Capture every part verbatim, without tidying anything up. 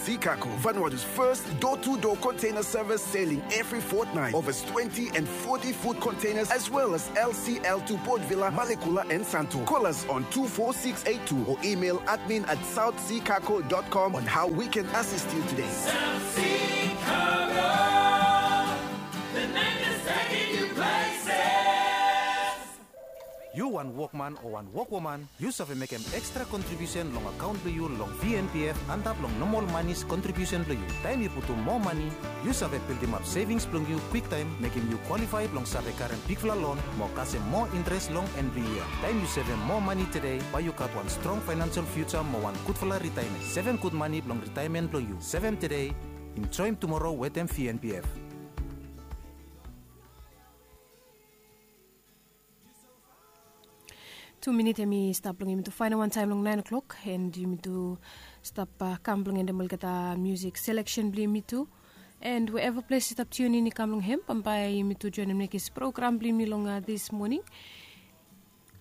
Seacargo, Vanuatu's first door-to-door container service, sailing every fortnight. Over twenty and forty foot containers, as well as L C L to Port Vila, Malekula, and Santo. Call us on two four six eight two or email admin at south sea cargo dot com on how we can assist you today. South Sea Cargo, the name that's taking you places. Yu wan wokman o wan wokwoman, yu save mekem ekstra kontribiusen long akaon blong yu long V N P F antap long nomol manis kontribiusen blong yu. Taem yu putum moa mani, yu save bildimap sevings blong yu kwiktaem, mekem yu kwalifae blong save karem bigfala lon mo kasem moa intres long en blong yia. Taem yu sevem moa mani tede, bae yu gat wan strong faenansel fiuja mo wan gudfala ritaemen. Sevem gud mani blong ritaemen blong yu. Sevem tede, enjoem tumoro wetem V N P F. Tu minit hemi stap long yumi tu faenem wantaem long naen o'clock, and yumi tu stap kam blong endem olgeta music selection blong yumi tu. And wherever ples yu stap tune in i kam long hem, bambae yumi tu joenem nekis program blong yumi long this morning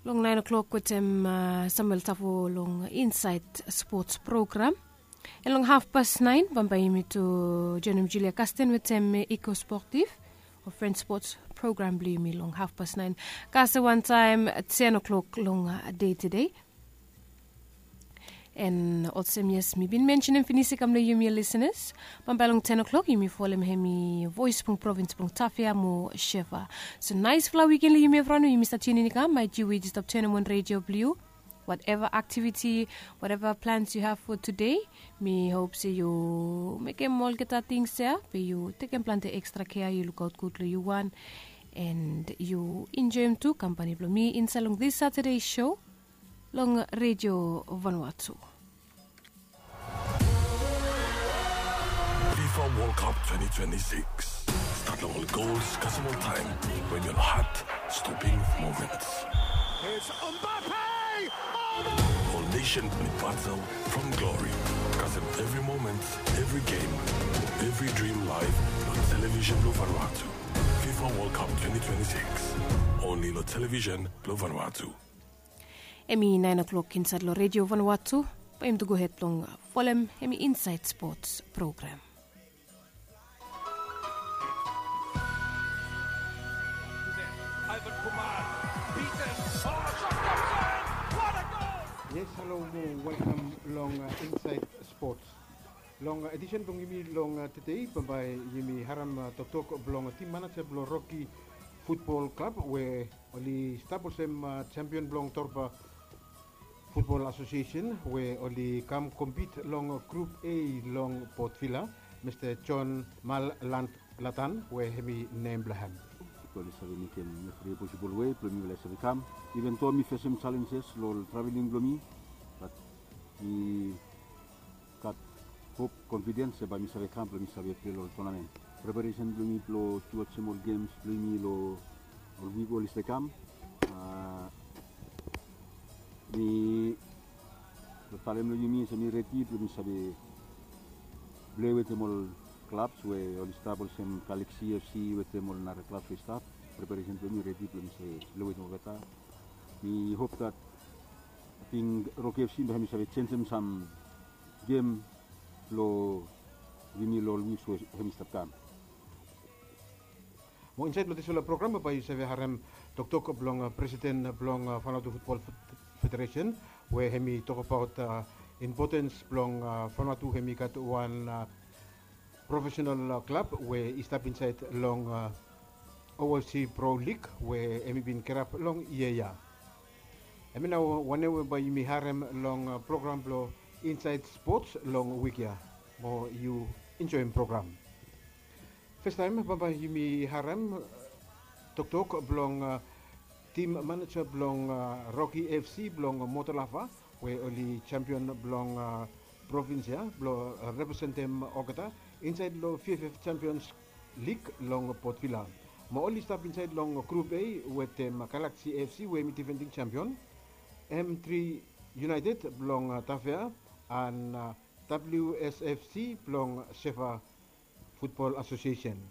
long naen o'clock wetem Samuel Tafo long Inside Sports program. And long hafpas naen bambae yumi tu joenem Julia Kasten wetem Eco Sportive o French Sports program blong yumi long hafpas naen. Kasem wantaem ten o'clock long dei tede. And olsem yes, mi bin mensenem finis i kam long yumi listeners, bambae long ten o'clock yumi folem hemi voes blong provins blong Tafea mo Shefa. So naesfala wiken long yumi evriwan we yumi stap tune in i kam. Maet yu we yu stap tanem on redio blong yu, whatever activity, whatever plans you have for today, mi hop se yu mekem olgeta tings ya, be yu tekem plante ekstra kea, yu lukaot gud long yu wan, and yu enjoem tu kampani blong mi insaed long this Saturday show long Redio Vanuatu. FIFA World Cup twenty twenty-six. Stat long ol gols kasem ol taem we hemi ol heart stopping moments. It's Mbappe! Ol nation blong batel from glory. Kasem evri moment, evri game, evri dream live long television blong Vanuatu. FIFA World Cup twenty twenty-six. Only long television blong Vanuatu. Hemi naen o'clock insaed long Redio Vanuatu. Bae yumi tu gohed blong folem hemi Inside Sports program. Ivan Kumar, beaten. Oh, shot comes in. What a goal! Yes, halo mo welkam long Inside Sports. Long edisen blong yumi long tede, bambae yumi harem toktok blong tim maneja blong Rocky Futbol Klab we oli stap olsem sempion blong Torba Futbol Asosiesen we oli kam kompit long Grup A long Port Vila, Mista John Malland Latan we hemi nem blong hem. Oli save mekem evri posibol wei blong mifala i save kam. Iven do mi fesem jalenjes long ol traveling blong mi, bat mi gat hop, konfidens se bae mi save kam blong mi save plei long ol tonamen. Preparesen blong mi blong tu olsem ol gems blong mi long ol wik oli stap kam. Mi long talem long yumi se mi redi blong mi save plei wetem ol klabs we oli stap olsem Galaxy F C wetem ol nara klabs we i stap. Preparesen blong mi redi blong mi save plei wetem olgeta. Mi hop dat ating Rocky F C bae hemi save jenjem sam gem blong yumi long ol wiks we hemi stap kam. Mo insaed long disfala program bae yu save harem toktok blong presiden blong Vanuatu Futbol Federesen we hemi tokbaot impotens blong Vanuatu hemi gat wan profesenal klab we i stap insaed long O F C Pro Lig we hemi bin kirap long yia ya. Hemi nao wanem we bae yumi harem long program blong Inside Sports long wik ya. Mo yu enjoem program. Fastaem bambae yumi harem toktok blong tim maneja blong Rocky F C blong Motolava we oli sempion blong provins ya blong representem olgeta insaed long V F F Champions League long Port Vila. Mo oli stap insaed long Grup A wetem Galaxy F C we hemi difending sempion, M three United blong Tafea, and W S F C blong Shefa Futbol Asosiesen.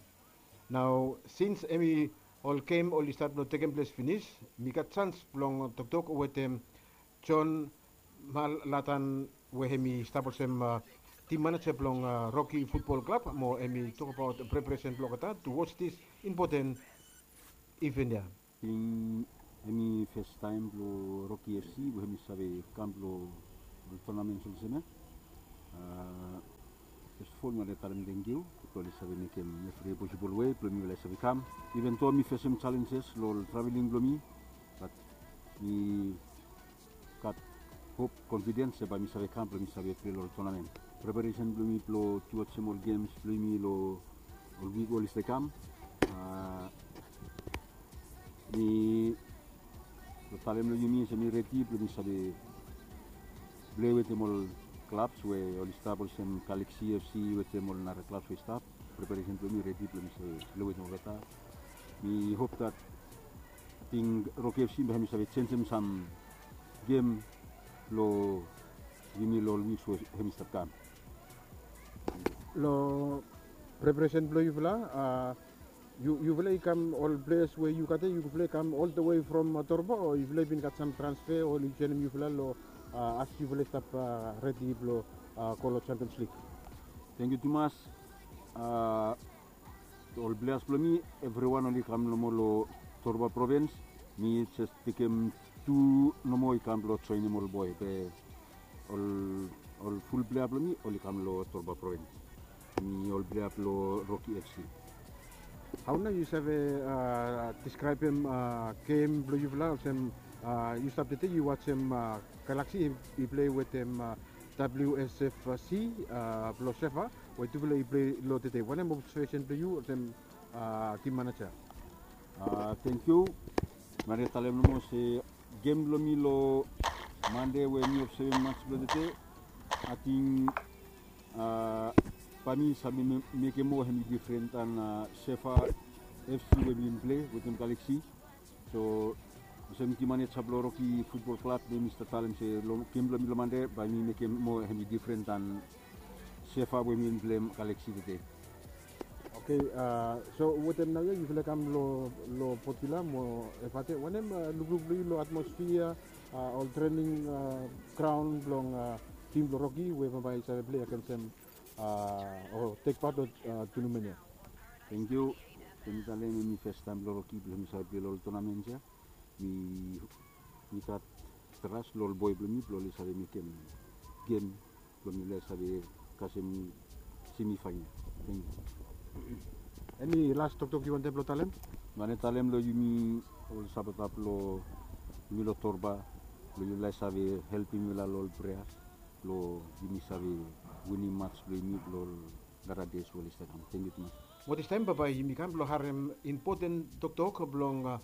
Nao sins hemi ol gem oli stat blong tekem ples finis, mi gat jans blong toktok wetem John Malatan we hemi stap olsem Tim maneja blong Rocky Futbol Klab mo hem i tokbaot preparesen blong olgeta towards this important event ya. Ting hem i festaem blong Rocky FC we hem i save kam blong ol tonamen olsem ya. First of all mi wani talem tangkiu blong oli save mekem evri posibol wei blong mifala i save kam. Even though mi fesem challenges long ol traveling blong mi, bat mi gat hop, confidence se bae mi save kam blong mi save pilei long ol tonamen. Preparesen blong mi blong tu olsem ol gems blong mi long ol wik we oli save kam. Mi long talem long yumi se mi redi blong mi save pilei wetem ol klabs we oli stap olsem Galaxy FC wetem ol nara klabs we i stap. Preparesen blong mi redi blong mi save pilei wetem olgeta. Mi hop dat ting Rocky FC bae hem i save jenjem sam gem long yumi long ol wiks we hem i stap kam. Long preparesen blong yufala, yufala i kam ol pleas we yu gat ya, yufala i kam ol the way from Torba o yufala i bin gat sam transfer o oli joinim yufala long as yufala i stap redi blong go long Champions League? Tangkiu tumas. Ol pleas blong mi evriwan oli kam nomo long Torba provins. Mi jes tekem tu nomo i kam blong joinim ol boe be ol ful plea blong mi oli kam long Torba provins. Mi ol plea blong Rocky FC. Hao nao yu save deskraebem gem blong yufala olsem yu stap tede yu wajem Galaxy i pilei wetem WSFC blong Sefa we tufala i pilei long tede? Wanem obsevesen blong yu olsem tim maneja? Tangkiu. Mi wani talem nomo se gem blong mi long Mande we mi obsevem mats blong tede, ating bae mi save mekem moa hem i difren dan Sefa FC we mi bin pilei wetem Galaxy. So olsem tim maneja blong Rocky Futbol Klab mi stap talem se long gem blong mi long Mande bae mi mekem moa hem i difren dan Sefa we mi bin pileim Galaxy tede. Oke. So wetem naoia yufala i kam long Port Vila mo Efate, wanem lukluk blong yu long atmosfia, ol trening graon blong tim blong Rocky we bambae i save pilei agensem o tek pat long tunamen ya? Tangkiu. Bae mi talem hem i festaem blong Rocky blong hem i save pilei long ol tonamen ya. Mi gat tras long ol boe blong mi blong oli save mekem gem blong mifala i save kasem semifaenal. Tangkiu. Eni las toktok yu wantem blong talem? Mi wantem talem long yumi ol sapota blong yumi long Torba blong yufala i save helpem mifala long ol preas blong yumi save winim mats blong yumi blong ol nara des we oli stap kam. Tangkiu tumas. Mo distaem bambae yumi kam blong harem impoten toktok blong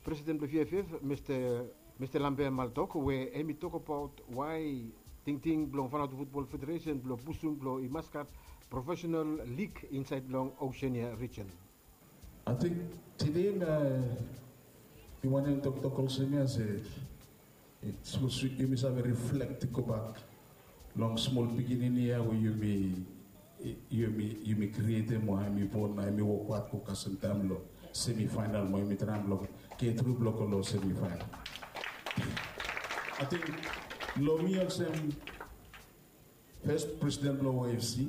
presiden blong VFF, Mista Lambert Maltok, we hem i tokbaot wae tingting blong Vanuatu Futbol Federesen blong pusum blong i mas gat profesenal lig insaed long Oseania rijen. Ating tede mi wantem toktok olsem ya se sapos yumi save riflek gobak long smol pikinini ya we yumi yumi yumi krietem mo hem i bon na hem i wokbaot go kasem taem long semifaenal mo yumi traem blong getru blong go long semifaenal. Ating long mi olsem fes presiden blong OFC,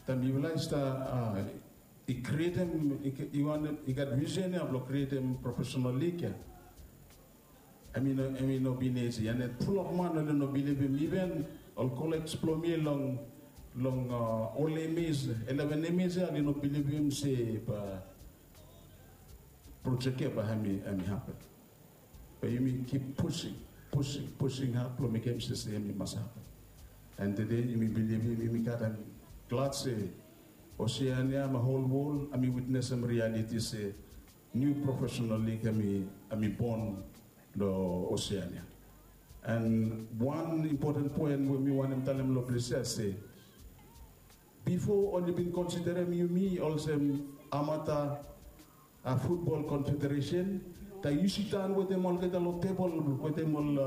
taem mifala i stap i krietem i gat visen ya blong krietem profesenal lig ya. Hem i no bin isi and fulap man oli no bilivim, iven ol kolej blong mi long long ol emis, eleven emis ya oli no bilivim se bae projek ya bae hem i hapen. Be yumi kip pusing pusing pusing had blong mekem se se hem i mas hapen. And tede yumi bilivim yumi gat hem glad se Oseania mo hol wol hem i witnesem rialiti se niu profesenal lig hem i bon long Oseania. And wan impoten poen we mi wantem talem long ples ya se bifo oli bin konsiderem yumi olsem amata futbol konfederesen, taem yu sidaon wetem olgeta long tebol wetem ol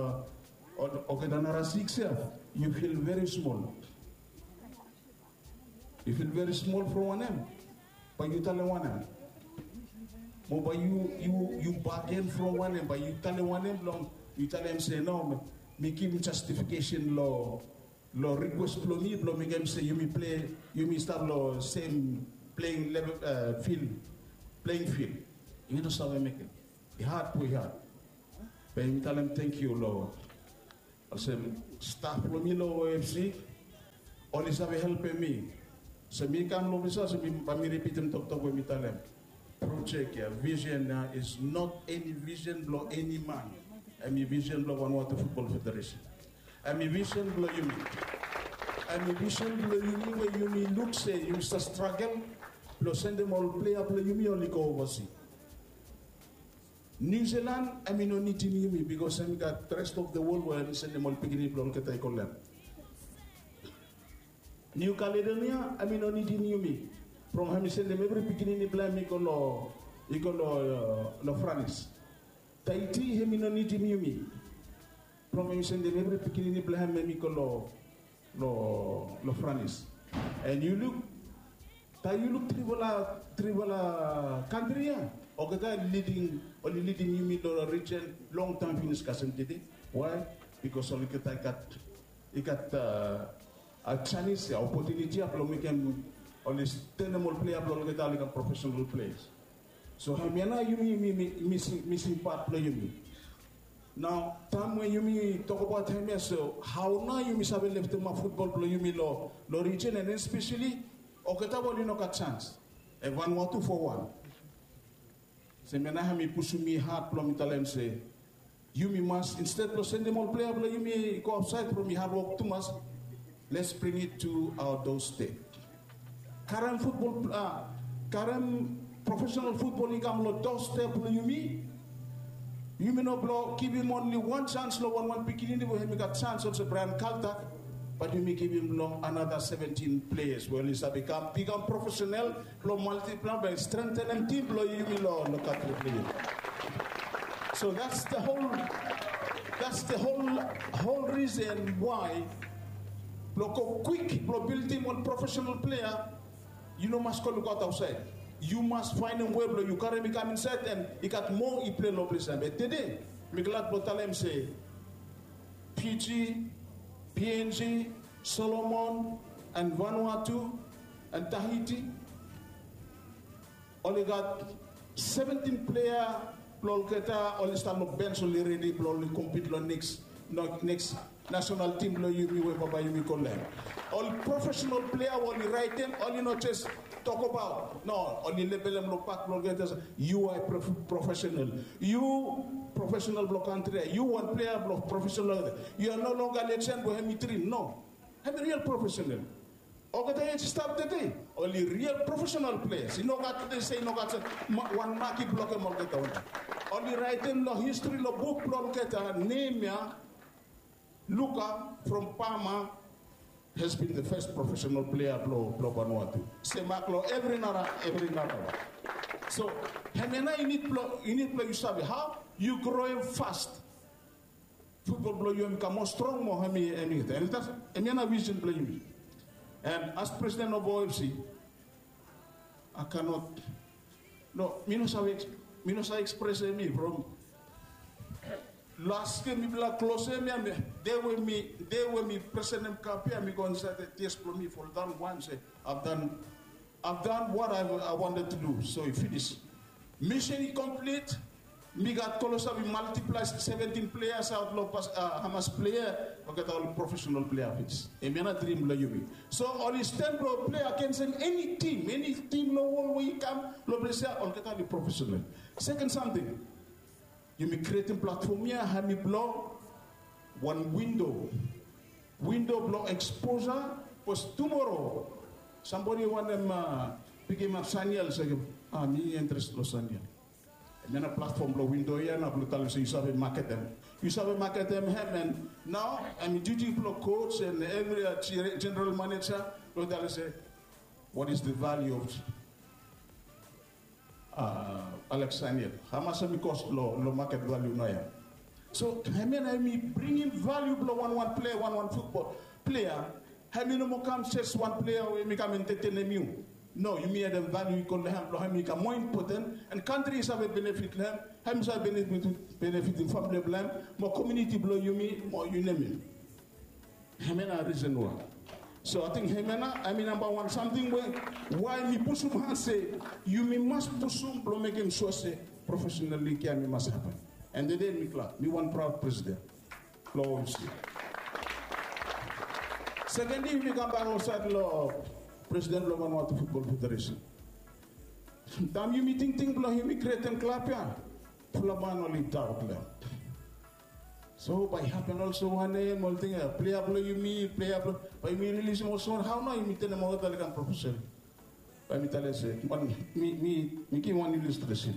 olgeta nara siks ya, yu fil veri smol. Yu fil veri smol from wanem? Bae yu talem wanem? Mo bae yu yu yu bagen from wanem? Bae yu talem wanem blong yu talem se no, mi givim jastifikesen long long rikwes blong mi blong mekem se yumi plei, yumi stap long sem playing level, fil, playing field. Yumi no save mekem. I had we had. Be yumi talem tangkiu long olsem staf blong mi long O F C, oli save helpem mi. So mi kam long ofis ya, so mi bae mi ripitim toktok we mi talem. Projek ya, vision ya is not eni vision blong eni man. Hemi vision blong Vanuatu Football Federation. Hemi vision blong yumi. Hemi vision blong yumi we yumi luk se yumi stap stragel blong sendem ol plea blong yumi oli go ovasi. New Zealand hemi no nidim yumi bikos hemi gat rest of the world we hemi sendem ol pikinini blong olgeta i go lem. New Caledonia hemi no nidim yumi from hemi sendem evri pikinini blong hem i go long, i go long, long Franis. Tahiti hemi no nidim yumi from hemi sendem evri pikinini blong hem hem i go long, long, long Franis. And yu luk, taem yu luk trifala, trifala kantri ya, olgeta liding, oli lidim yumi long region longtaem finis kasem tede. Why? Bikos olgeta i gat, i gat a, a janis ya, opotuniti ya blong mekem oli stenem ol plea blong olgeta oli kam profesenal pleas. So hemia nao yumi, yumi, yumi mising, mising pat blong yumi. Nao taem we yumi tokbaot hemia, so hao nao yumi save leftemap futbol blong yumi long, long region, and especially olgeta we oli no gat jans. And Vanuatu fo wan. Se hemia nao hemi pusum mi had blong mi talem se yumi mas, instead blong sendem ol plea blong yumi go aotsaed from i hadwok tumas, let's bring it to our doorstep. Karem futbol, a, karem profesenal futbol i kam long doorstep blong yumi. Yumi no blong givim onli wan jans long wanwan pikinini we hemi gat jans olsem Brian Kaltak, bat yumi givim long another seventeen players we oli save kam bikam profesenal blong multiply, blong strengthenem tim blong yumi long, long kantri blong yumi. So that's the whole, that's the whole, whole reason why blong go kwik blong bildim ol profesenal plea, yu no mas go lukaot aotsaed. Yu mas faenem wei blong yu karem i kam insaed, and i gat moa i plei long ples ya. Be tede mi glad blong talem se Fiji, P N G, Solomon, and Vanuatu, and Tahiti, oli gat seventeen plea blong olgeta oli stap long bens, oli redi blong oli kompit long neks, neks nasenal tim blong yumi we bambae yumi go long hem. Ol profesenal plea we oli raetem, oli no jes tokbaot. No, oli lebelem long bak blong olgeta se, yu are prof-, profesenal. Yu profesenal blong kantri ya. Yu wan plea blong profesenal. Yu are no longer legend we hemi drim. No. Hemi real profesenal. Olgeta ya i stap tede, oli real profesenal pleas. I no gat tede se i no gat wan mak i blokem olgeta. Oli raetem long histri, long buk blong olgeta, nem ya, Luka from Pama has been the first profesenal plea blong, blong Vanuatu. Se mak long evri nara, evri nara. So hemia nao i nid blong, i nid blong yu save hao yu groem fast. Futbol blong yu hemi kam moa strong moa, hemi, hemi, hemi, hemia nao vision blong yumi. And as president of O F C, I cannot, no, mi no save, mi no save ekspresem mi from las yia mifala klosem ya, mi, dei we mi, dei we mi presentem kap ya, mi go insaed, tears blong mi foldaon wan se, I've done, I've done what I, I wanted to do. So i finis. Misin i komplit. Mi gat klosap i multiply seventeen players aot long Hamas player, olgeta oli profesenal player finis. Hemia nao drim blong yumi. So oli stan blong play agensem eni tim, eni tim long wol we i kam long ples ya, olgeta oli profesenal. Seken samting, yumi krietem platfom ya, hemi blong wan windo, windo blong eksposa. Bikos tumoro sambodi wantem pikimap Saniel, se, a, mi interes long Saniel. Hemia nao platfom blong windo ya nao blong talem se yu save maketem. Yu save maketem hem, and nao hemi duti blong coach and evri, a, general manager blong talem se, what is the value of, a, Alex Saniel? Hamas hemi kos long, long maket valiu naoia? So hemia nao hemi bringim valiu blong wanwan plea, wanwan futbol plea. Hemi no moa kam jes wan plea we hemi kam entetenem yu. No, yumi adem valiu i go long hem blong hemi kam moa impoten, and kantri i save benefit long hem, hem i save benefit, benefitim famili blong hem, mo komuniti blong yumi, mo yu nem it. Hemia na risen wai. So ating hemia na hemi namba wan samting we wai mi pusum han se yumi mas pusum blong mekem sua se profesenal lig ya hemi mas hapen. And tede mi glad mi wan praod presiden blong omsi. Sekendli yumi kambak long saed long presiden blong Vanuatu Futbol Federesen. Taem yumi tingting blong yumi krietem klab ya, fulap man oli daot long hem. So bae i hapen olsem wanem, ol ting ya plea blong yumi, plea blong, bae yumi rilisim olsem wanem, hao nao yumi tenem olgeta oli kam profesenal? Bae mi talem se, mi givim wan ilustresen.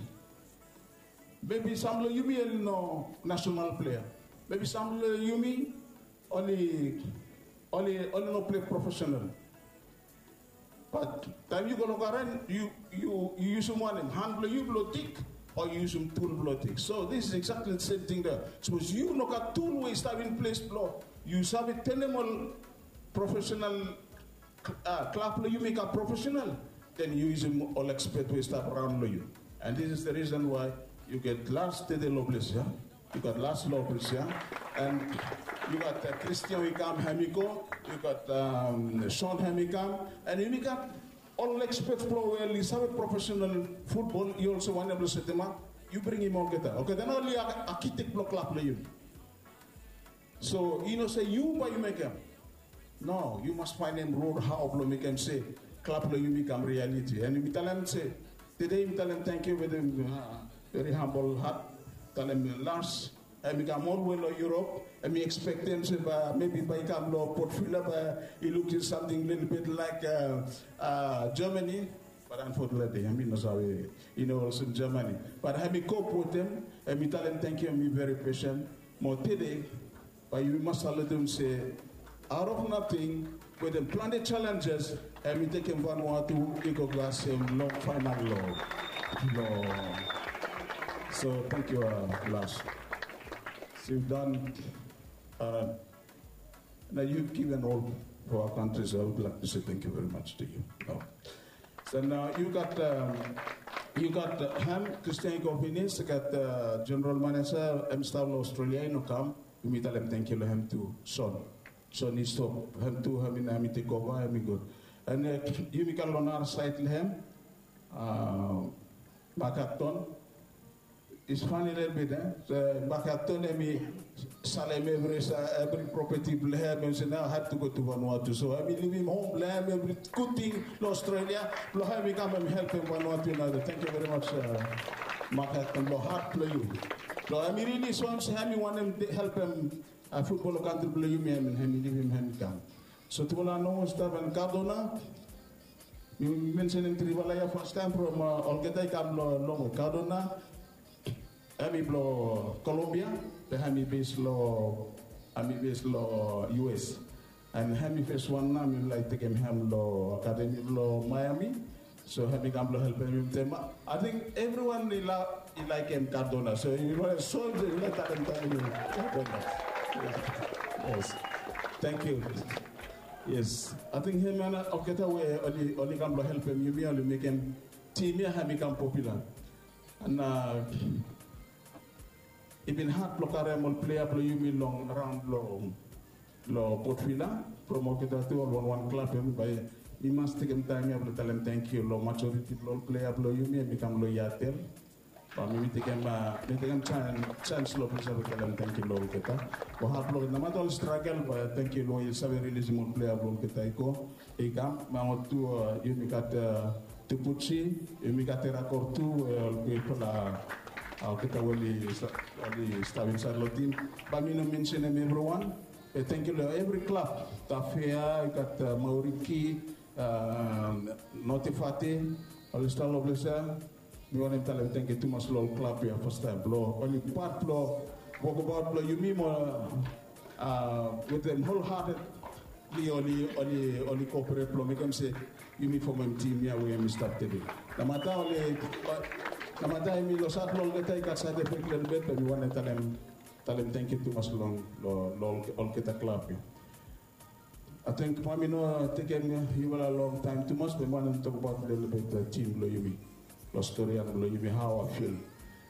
Mebi sam long yumi oli no nasenal plea. Mebi sam long yumi oli oli oli no plei profesenal. Bat taem yu go long garen, yu yu yu yusum wanem, han blong yu blong dig, o yu yusum tul blong dig? So this is exactly the same thing there. Sapos yu no gat tul we i stap in ples blong yu save tenem ol profesenal klab blong yumi i kam profesenal, then yu yusum ol ekspet we i stap raon long yu. And this is the reason why yu gat Lars tede long ples ya, yu gat Lars long ples ya, and yu gat Kristian we i kam, hem i go, yu gat Son, hem i kam, and yumi gat ol ekspet blong we oli save profesenal futbol i olsem wanem blong setemap. Yu bringim olgeta, olgeta nao oli akitek blong klab blong yumi. So i no se yu bae yu mekem. No, yu mas faenem rod hao blong mekem se klab blong yumi i kam rialiti. And yumi talem se tede yumi talem tangkiu wetem veri hambol hat, talem Lars, hem i kam olwe long Yurop, hem i ekspektem se bae mebi bae i kam long Port Vila bae i lukim samting lelebet laek Germany. Bat unfortunately hem i no save, i no olsem Germany. Bat hem i kop wetem, hem i talem tangkiu, hem i veri pesen. Mo tede bae yumi mas salutem se out of nothing, wetem plante challenges, hem i tekem Vanuatu i go kasem long faenal long. So tangkiu Lars. So you've done, uh, now you've given all for our country, so I would like to say thank you very much to you. So now you got, um, you got uh, hem, Kristian i go finis, gat uh, Jeneral Manesa, hem i stap long Australia, i no kam. Yumi talem tangkiu long hem tu. Son, Son i stop, hem tu, hem i nao hem i tekova, hem i go. And uh, yumi gat long nara saed long hem, uh, Mark Acton. It's funny little bit, eh? So Mark Acton hem i salem evri, evri propeti blong hem, hem i se nao I have to go to Vanuatu. So hem i livim hom blong hem, evri gud ting long Australia blong hem i kam hem i helpem Vanuatu. Nao tangkiu veri mas, uh, Mark Acton, long hat blong yu. So hem i rili soem se hem i wantem helpem futbol long kantri blong yumi, hem i livim, hem i kam. So tufala nomo stap, and Cardona, mi mensenem trifala ya fastaem from uh, olgeta i kam long longwe. Cardona hem i blong Colombia, be hem i bes long, hem i bes long U S. And hem i fes wan nao mi laek tekem hem long akademi blong Miami. So hem i kam blong helpem yumi tem. Ating evriwan i laekem Cardona. So yu wantem soem se yu laek talem tangkiu Cardona. Yes. Tangkiu. Yes. Ating hemia nao olgeta we oli kam blong helpem yumi, oli mekem tim ya hem i kam popula. And uh, i bin had blong karem ol plea blong yumi long raon blong long Port Vila, from olgeta tu ol wanwan klab, hemi bae mi mas tekem taem ya blong talem tangkiu long majoriti blong ol plea blong yumi hemi kam long Yatel. Bae mi tekem, mi tekem jaens long ples ya blong talem tangkiu long olgeta. Bae had blong, namata ol stragel, bae tangkiu long yu save rilisim ol plea blong olgeta i go i kam. Mo tu yumi gat Tupuchi, yumi gat Erakor tu, we ol pipol, olgeta we oli stap insaed long tim. Bae mi no mensenem evriwan. Be tangkiu long evri klab, Tafea, yu gat Mauriki, Notifate, oli stap long ples ya. Mi wantem talem tangkiu tumas long ol klab ya fastaem blong oli pat blong wokbaot blong yumi mo wetem holhatedli oli, oli, oli koperate blong mekem se yumi fomem tim ya we yumi stap tede. Namata oli, namata yumi losat long olgeta i gat saed efek lelebet, be mi wantem talem, talem tangkiu tumas long, long olgeta klab ya. Ating bae mi no tekem yufala longtaem tumas, be mi wantem tokbaot lelebet tim blong yumi, long storian blong yumi, hao I feel,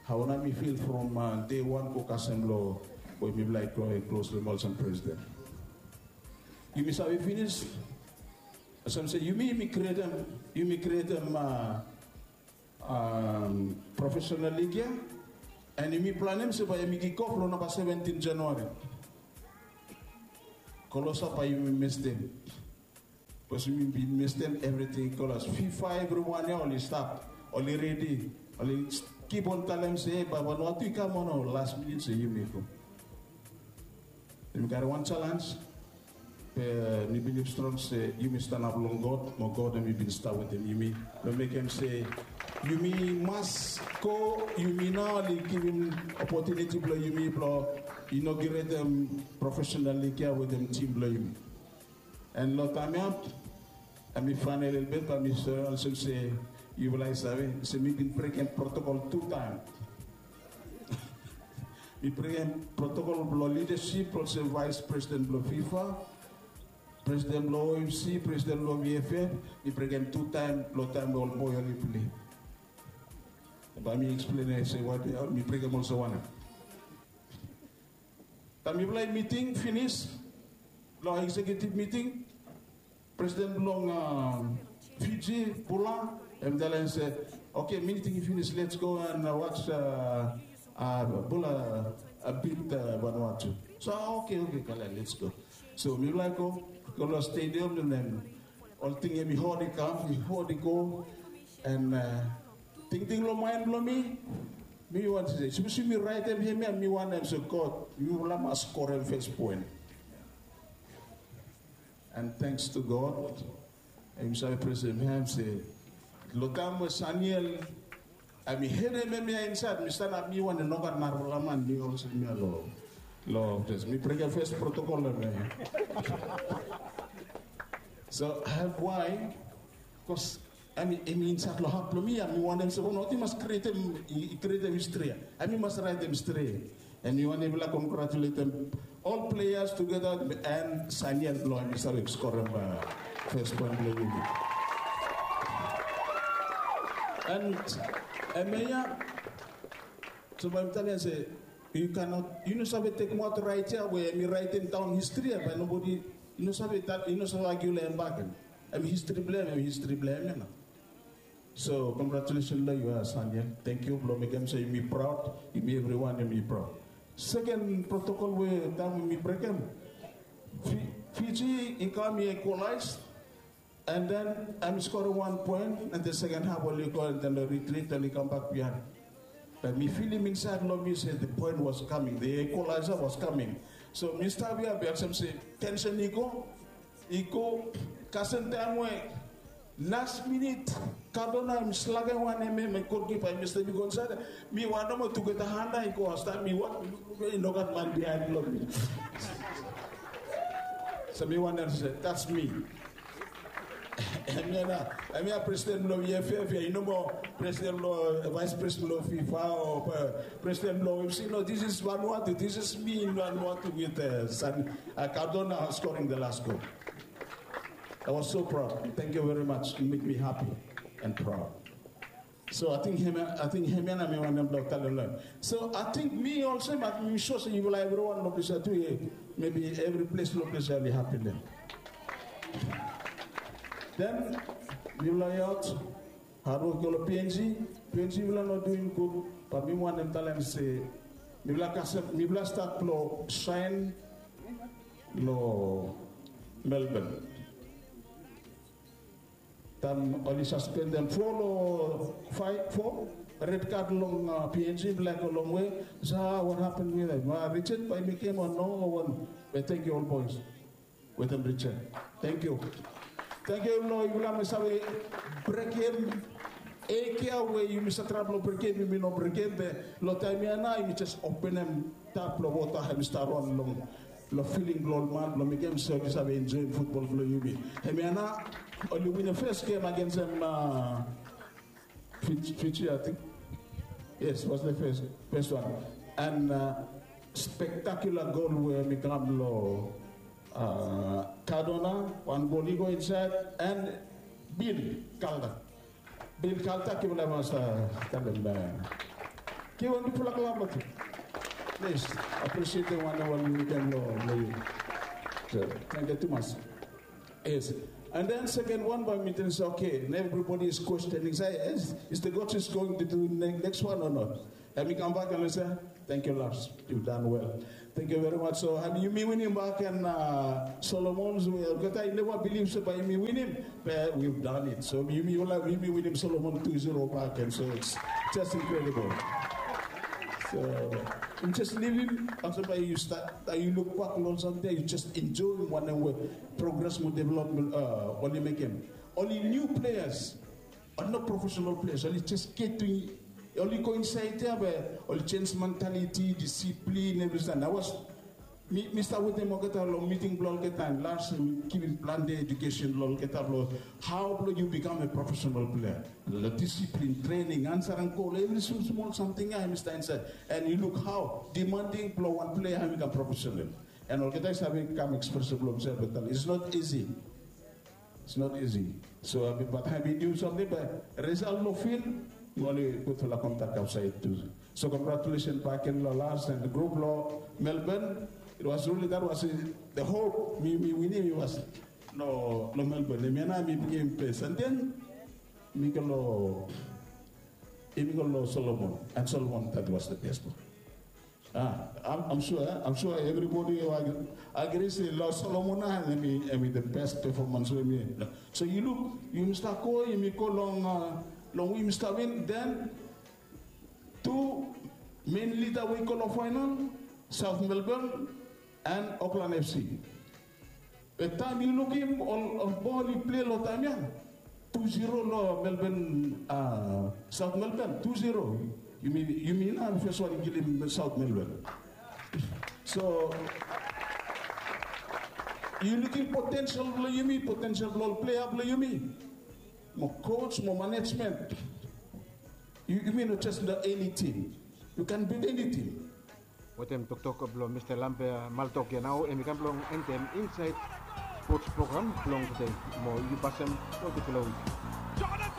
hao nao mi feel from day one go kasem long we mifala i go klos long hem olsem presiden. yumi save finis. Olsem se yumi, yumi krietem, yumi krietem profesional lig ya. And yumi planem se bae yumi kikof long namba seventin Januari. Klosap bae yumi mestem. Bikos yumi bin mestem evriting i kolas. Fifa evriwan ya oli stap, oli redi, oli kip on talem se, e, bae Vanuatu i kam o no. Las minit se yumi go. Yumi karem wan jalanj. Be mi bilif strong se yumi stanap long God, mo God hemi bin stap wetem yumi. Long mekem se yumi mas go, yumi nao oli givim opotuniti blong yumi blong inaoguretem profesional lig ya wetem tim blong yumi. And long taem ya, hemi faenal lelebet, bae mi save olsem se yufala i save se mi bin brekem protokol tu taem. Mi brekem protokol blong lidasip olsem vaes presiden blong fifa, presiden blong O F C, presiden blong V F F. Mi brekem tu taem long taem we ol boe oli pilei. Bae mi eksplen se wae mi brekem olsem wanem. Taem mifala i miting finis long eksekiutiv miting, presiden blong Fiji, Bula, hem talem se, "Oke, miting i finis, lets go and watch Bula bit Vanuatu." So, "Oke, oke, kala, lets go." So mifala i go, go long stadium, and then ol ting hemi hot i kam, i hot i go. And tingting long maen blong mi, mi wantem se, sapos yumi raetem hemia, mi wantem se God, yufala mas skorem fes poen. And thanks to God, yumi save presem hem se long taem we Saniel, hemi hedem hemia insaed, mi stanap, mi wantem nogat narafala man, mi olsem hemia long, long ples. Mi brekem fes protokol hemia. So, wae? Bikos hemi, hemi insaed long hat blong mi ya, mi wantem se Vanuatu i mas krietem, i krietem histri ya. Hemi mas raetem histri. And mi wantem mifala kongratuletem ol pleas tugeta and Saniel blong hemi save skorem fes poen blong yumi. And hemia ya, so bae mi talem se, yu kanot, yu no save tekemaot raet ya we hemi raetem daon histri ya, bae nobodi i no save, i no save agiu long hem bakegen. Hemi histri blong hem, hemi histri blong hem ya nao. So, congratulations long yu, Saniel. Tangkiu blong mekem se yumi praod, yumi evriwan yumi praod. Seken protokol we taem we mi brekem, Fiji i kam, i ekwalaes, and then hemi skorem wan poen, and then seken haf oli go, and then oli ritrit, oli kambak biaen. Be mi filim insaed long mi se the point was coming, the equalizer was coming. So mi stap ya, be olsem se tensen i go, i go, kasem taem we las minit Cardona hemi slagem wan hemia, hemi golkipa hemi step i go insaed. Mi wan nomo tugeta han i go, hemia taem mi wok, i nogat man biaen long mi. So mi wantem se, that's me. Hemia nao, hemia presiden blong V F F ya, i no moa presiden blong, vaes presiden blong FIFA o presiden blong O F C. No, this is Vanuatu, this is me in Vanuatu with Cardona scoring the last goal. I was so proud. Thank you very much. It make me happy and proud. So ating hemia, ating hemia nao mi wantem blong talem long hem. So ating mi olsem, ating mi sua se yufala evriwan long ples ya tu, maybe evri ples long ples ya oli hapi long hem. Then mifala i aot, hadwok i go long P N G, P N G mifala no duim gud, be mi wantem talem se mifala kasem, mifala stat blong saen long Melbourne. Taem oli saspendem fo long faef, fo red card long P N G, mifala i go longwe. Sa, what happened with them? Richard bae i mekem o no? Be tangkiu ol boes wetem Richard. Tangkiu. Tangkiu long yufala we save brekem ek ya we yumi save traem blong brekem, yumi no brekem, be long taem ya nao yumi jes openem tap blong wota, hemi stap ron long long filing blong ol man blong mekem se oli save enjoem futbol blong yumi. Hemia nao oli winim fes gem agensem Fiji, ating. Yes, was the first, first one. And spectacular goal we hemi kam long Cardona, wan gol i go insaed, and Bill Calder. Bill Calder, yufala mas talem, givim wan bigfala klap long hem. Plis, apresietem wanem we hemi mekem long yu. So, thank you too much. Yes. And then second one by mi tingting se, okay, and everybody is questioning, say, yes, is the coach is going to do ne- next one or not? And mi come back and mi se, thank you, Lars. You've done well. Thank you very much. So, and yumi winim bak and uh, Solomon, we olgeta, I never believe se by yumi winim, but we've done it. So, yumi, yumi winim Solomon two zero bak, and so it's just incredible. So, you just leave him. After by you start, uh, you look back on something, you just enjoy him one way. Progress mo development, uh, oli mekem. Oli new players, oli no professional players, oli just get to, oli go inside there, but oli change mentality, discipline, everything. I was, mi, mi stap wetem olgeta long meeting blong olgeta, and Lars, mi givim planti education blong olgeta blong how blong you become a professional player. The discipline, training, answering call, every small, small something, I mi stap inside. And you look how demanding blong one player, how become professional. And olgeta i save kam express blong himself, but it's not easy. It's not easy. So, uh, but I mean, do something, but result no feel, mo oli gudfala contact outside too. So congratulations back in Lalas and the group lo Melbourne. It was really, that was uh, the hope. Mi, mi winim, it was no, no Melbourne. Mi na mi bring him place. And then, mi go lo, mi go lo Solomon. And Solomon, that was the best one. Ah, I'm, I'm sure, eh? I'm sure everybody will agree, agree say Lord Solomon and him, him the best performance we mi. So you look, you Mister Koi, you go long, uh, long we Mister Win, then two main leader we go long final, South Melbourne and Auckland F C. Be taem yu lukim ol, ol bol i plei long taem ya, tu ziro long Melbourne, a, South Melbourne, tu ziro. Yumi, yumi nao fes wan i kilim South Melbourne. So yu lukim potential blong yumi, potential blong ol plea blong yumi. Mo coach, mo management. Yumi no just long any team. You can beat any team. Wetem toktok blong Mista Lambert Maltok ya nao, hemi kam blong endem Inside Sports Program blong tede. Mo yu pasem long gudfala wik.